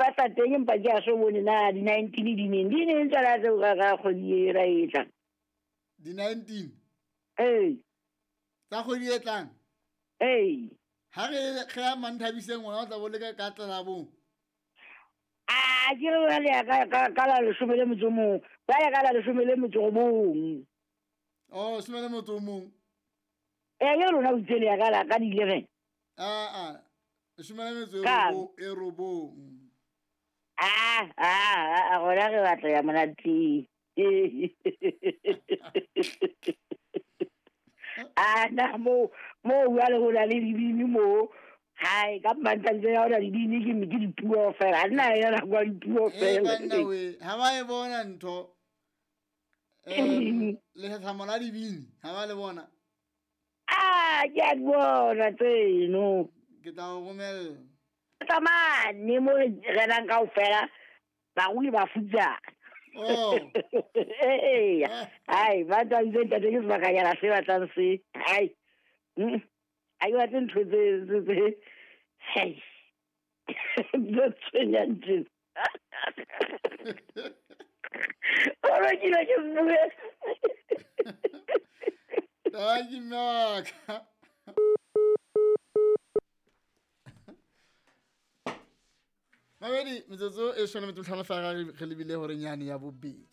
ipatla teng empa ke a so bone na di-19 di neng di neng tsona tseo ka ka kgwedi e ra e tlang. Di-19 Ee. Tsa kgwedi e tlang. Ee. Ha re ge ya Manthabiseng wena o tla bo le ka ka tlelabong. A ke re wena le ya ka la 11, ba ya ka la 19. Oh, 11. Ee, ke rona o itse le ya ka la ka di-11. Aa, 19. A gona re batla ya monateng. A na mo jwale ho na le dibini mo. Hai, ka Manthabiseng ha hona dibini ke dipuo fela. Ha nna ya nako ya dipuo fela. Banna we, ha ba e bona ntho. Lethathamo la dibini, ha ba le bona. A ke a di bona tseno. Ke tla o romella. Tsamane mo re renang kaofela, barui ba futsana. Oh. Ee. Hai, ba tantse ntate ke sebakanyana se batlang se. Hai. Ha ke batle ntho tse hei. Tse tshwenyang tjena. Ora ke ile ke bue. Thank you, Mark. Mabedi, metsotso e 15 fela re lebile hore nyane ya bobedi.